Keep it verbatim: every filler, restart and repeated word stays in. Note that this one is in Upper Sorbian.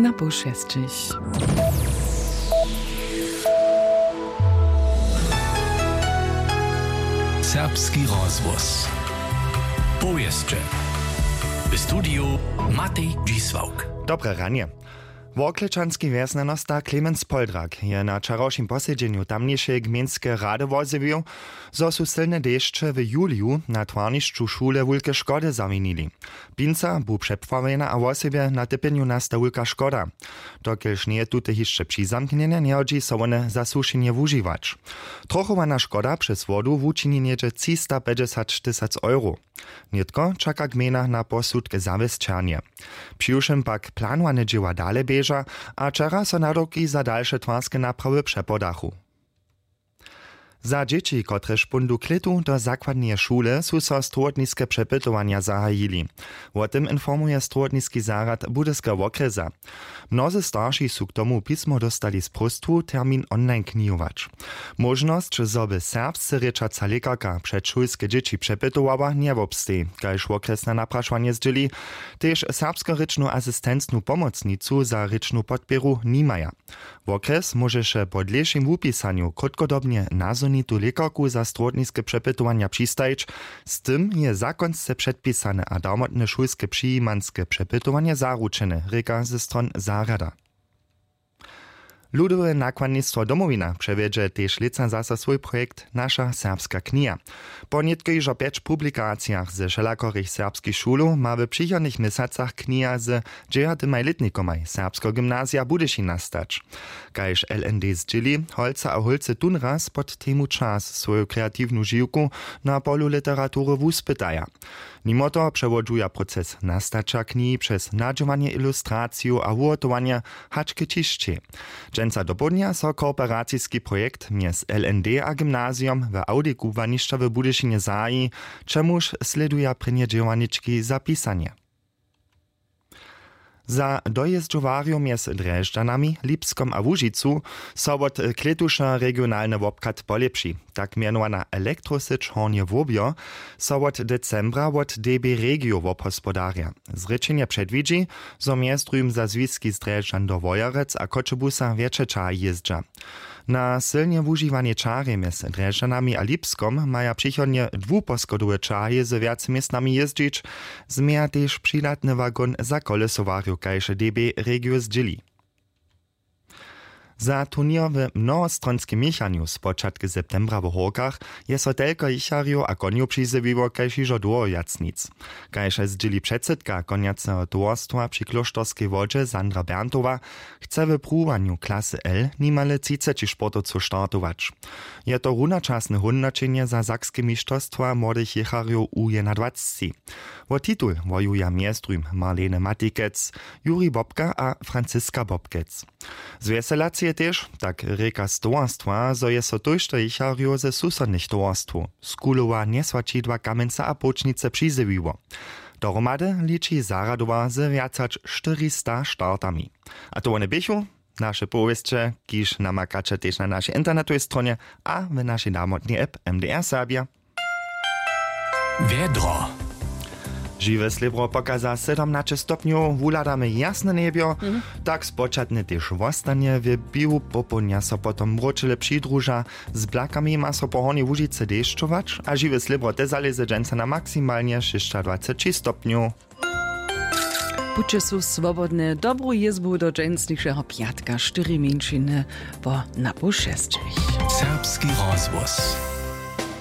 Na poł šesćich. Serbski rozhłos. Powěsće. W studiju Matej Dźisławk. Dobre ranje. Worklečanski wjesnjanosta Clemens Poldrak je na wčerawšim posedźenju tamnišeje gmejnskeje rady wozjewił, zo su sylne dešće w juliju na twarnišću šule wulke škody zawinili. Pinca bu přepławjena a wosebje na typjenju nasta wulka škoda. Dokelž njeje tute hišće přizamknjene, njehodźi so wone za sušenje wužiwać. Trochowana škoda přez wodu wučini něhdźe třistapjećdźesat tysac euro. Nětko čaka gmejna na posudk zawěsćernje. Přiwšěm pak planowane dźěła dale běža a wčera so nadawki za dalše twarske naprawy přepodachu. Za dźěći, kotrež póńdu klětu do zakładneje šule, su so strowotniske přepytowanja zahajili. Wo tym informuje strowotniski zarjad Budyskeho wokrjesa. Mnozy starši su k tomu pismo dóstali z próstwu, termin online knihować. Móžnosć, zo by serbsce rěčaca lěkarka předšulske dźěći přepytowała, njewobsteji, kaž wokrjesne naprašowanje zdźěli. Tež serbskorěčnu asistencnu pomocnicu za rěčnu podpěru nimaja. Wokrjes móžeše po dlěšim wupisanju krótkodobnje nazhonitu lěkarku za strowotniske přepytowanja přistajić. Z tym je zakonsce předpisane a darmotne šulske přijimanske přepytowanje zaručene, rěka ze stron zarjada. Ludowe nakładnistwo Domowina přewjedźe tež lětsa zaso swój projekt Naša serbska kniha. Po nětko hižo pjeć publikacijach ze wšelakorych serbskich šulow ma w přichodnych měsacach kniha z dźewjatymaj lětnikomaj Serbskeho gymnazija w Budyšin nastać. Kaž L N D zdźěli, holcy a hólcy tónraz pod temu Čas swoju kreatiwnu žiwku na polu literatury wuspytaja. Nimo toho přewodźuja proces nastaća knihi přez nadźěłanje, ilustraciju a wuhotowanje hač k ćišćej. Dźensa dopołdnja so kooperaciski projekt mjez L N D a gymnazijom w awdikubłanišćach w Budyšinje zahaji, čemuž slěduja prěnje dźěłarnički za pisanje. Za dojězdźowarjow mjez Drježdźanami, Lipskom a Łužicu so wot klětuša regionalny wobchad polěpši. Tak mjenowana elektrosyć Hornje Łobjo so wot decembra wot D B Regio wobhospodarja. Zrěčenje předwidźi, zo mjez druhim za zwiski z Drježdźan do Wojerec a Choćebuza wjetše ćahi jězdźa. Na sylnje wužiwanej ćahrje mjez Drježdźanami a Lipskom maja přichodnje dwuposchodowe ćahrje z wjac městnami jězdźić. Změja tež přidatny wagon za kolesowarjow, kaž D B Regio zdźěli. Za turněr w mnohostronskim měchanju spočatk septembra w Hórkach je so telko jěcharjow a konjow přizjewiło kaž hižo dołho wjac nic. Kaž zdźěli předsydka konjaceho towarstwa při klóšterskej wodźe Sandra Berntowa, chce w pruwanju klasy L nimale třiceći sportowcow startować. Je to runačasne hódnoćenje za sakske mišterstwa młodych jěcharjow u jednadwacci. Wo titul wojuja mjez druhim Marlene Matikec, Juri Bobka a Franziska Bobkec. Z wjeselacije tež, tak rěka z towarstwa, zo je so tójšto jěcharjow ze susodnych towarstwow, z Kulowa, Njesłaćidła, Kamjenca a Połčnicy, přizjewiło. Dohromady liči zarjadowa ze wjac hač štyrista startami. A to wone běchu naše powěsće, kiž namakaće tež na našej internetowej stronje a w našej damotnej app M D R Serbia. Wjedro. Žiwe slěbro pokaza sydomnaće stopnjow, wuhladamy jasne njebjo. Tak spočatnje tež wostanje, w běhu popołdnja so potom mróčele přidruža, z blakami ma so po Hornjej Łužicy dešćować a žiwe slěbro te zalěze dźensa na maksimalnje šěsćadwaceći stopnjow. Puće su swobodne, dobru jězbu do dźensnišeho pjatka, štyri mjeńšiny po napoł šesćich. Serbski rozhłos.